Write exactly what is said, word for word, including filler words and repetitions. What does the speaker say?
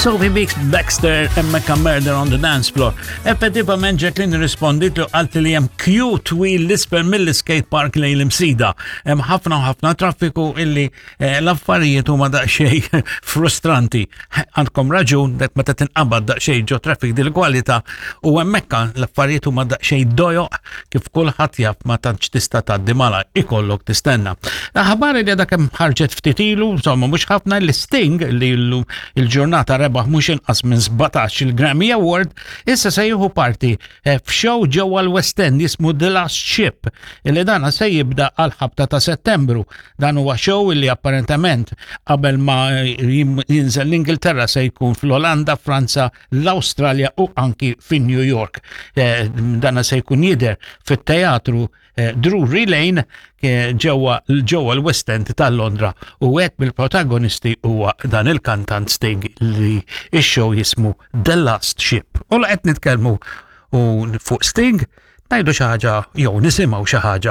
Sophie Bix Baxter hemmhekk Murder on the Dance Floor. Effettivament Jacqueline rispondit li qalt li hemm queue twil 'l isfel mill-skate park lejn l-Imsida. Hemm ħafna u ħafna traffiku illi eh, l-affarijiet huma daqsxejn frustranti. Għandkom raġun dak meta tinqabad daqsxejn ġo traffic dil-kwalità u hemmhekk l-affarijiet huma daqsxejn dojoq kif kulħadd jaf ma tantx tista' tgħaddi mala ikollok tistenna. Aħbar li għadha kemm ħarġet ftit ilu, insomma mhux ħafna l-Sting li llum il-ġurnata rebaħ mhux inqas minn sbatax il-Grammy Award, issa se jieħu parti eh, f'show ġewwa l-West End jismu The Last Ship, illi dana se jibda għal ħabta ta' Settembru. Dan huwa show illi apparentement qabel ma jinżel l-Ingilterra se jkun fl-Olanda, Franza, l-Awstralja u anki fin New York. Eh, dana se jkun jidher fit-teatru eh, Drury Lane ġewwa ġewwa l-West End ta' Londra u wieħed mill-protagonisti huwa dan il-kantant Sting li ix-show jismu The Last Ship. U la qed nitkellmu u fuq Sting ngħidu xi ħaġa jew nisimgħu xi ħaġa.